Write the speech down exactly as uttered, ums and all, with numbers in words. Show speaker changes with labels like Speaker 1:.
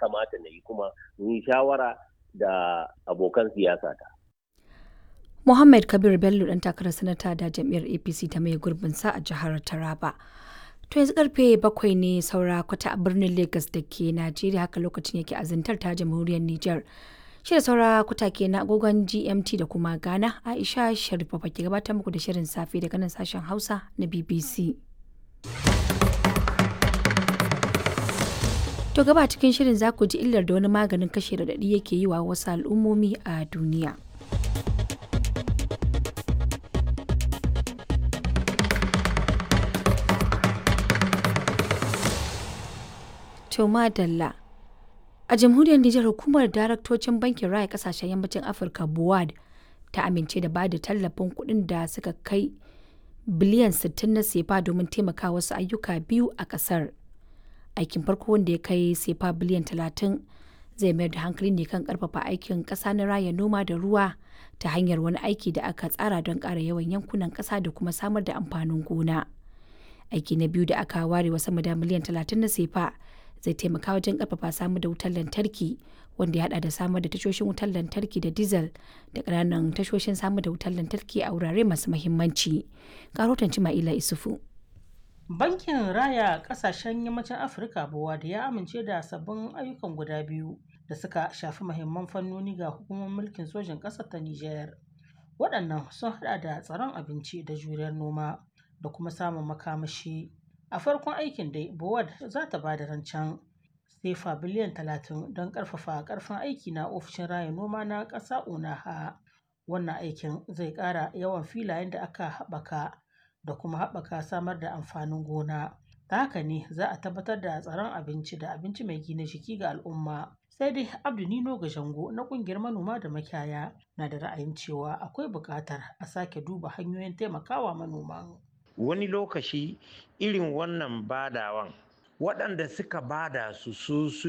Speaker 1: kamata na yi, kuma in yi shawara da abokan siyasa ta.
Speaker 2: Muhammad Kabir Bello, dan takarar sanata da jam'iyyar A P C ta mai gurbin sa a jihar Taraba. To, yanzu karfe bakwai ne saura kwata a birnin Lagos da ke Najeriya, haka lokacin yake a Zandar ta Jamhuriyar Nijar. Shida saura kwata ke na agogon G M T da kuma Ghana. Aisha Sharifa ke gabatar muku da shirin safe daga nan sashen Hausa na B B C. To, gaba cikin shirin za ku ji illar da wani maganin kashe raɗaɗi yake yi wa wasu al'ummomi a duniya. To madalla. A Jamhuriyar Nijar, hukumar daraktocin Bankin Raya Kasashen Yammacin Afirka BOAD ta amince da ba da tallafin kuɗin da suka kai biliyan sittin na sefa domin taimaka wasu ayyuka biyu a ƙasar. Aikin farko, wanda ya kai sefa biliyan talatin, zai mayar da hankali ne kan karfafa aikin ƙasa na raya noma da ruwa ta hanyar wani aiki da aka tsara don ƙara yawan yankunan ƙasa da kuma samar da amfanin gona. Aiki na biyu da aka ware wa sama da miliyan talatin na sefa zai taimaka wajen karfafa samar da wutar lantarki, wanda ya hada da samar da tashoshin wutar lantarki da diesel da ƙananan tashoshin samar da wutar lantarki a wurare masu muhimmanci. Karotan Cima'ila Isufu.
Speaker 3: Bankin Raya Kasashen Yammacin Afirka BOAD ya amince da sabbin ayyukan guda biyu da suka shafi mahimman fannoni ga hukumar mulkin sojin ƙasar ta Nijar. Waɗannan sun haɗa da tsaron abinci da juriyar noma da kuma samun makamashi. A farkon aikin dai, BOAD za ta ba da rancen sefa biliyan talatin don ƙarfafa ƙarfin aiki na ofishin raya noma na ƙasa ONAHA. Wannan aikin zai ƙara yawan filayen da aka haɓaka da kuma haɓaka samar da amfanin gona. Ta haka ne za a tabbatar da tsaron abinci da abinci mai gina jiki ga al'umma. Sai dai Abdu Nino Gajango na ƙungiyar manoma da makiyaya na da ra'ayin cewa akwai buƙatar a sake duba hanyoyin taimakawa manoman.
Speaker 4: Wani lokaci irin wannan badawan, waɗanda suka bada su su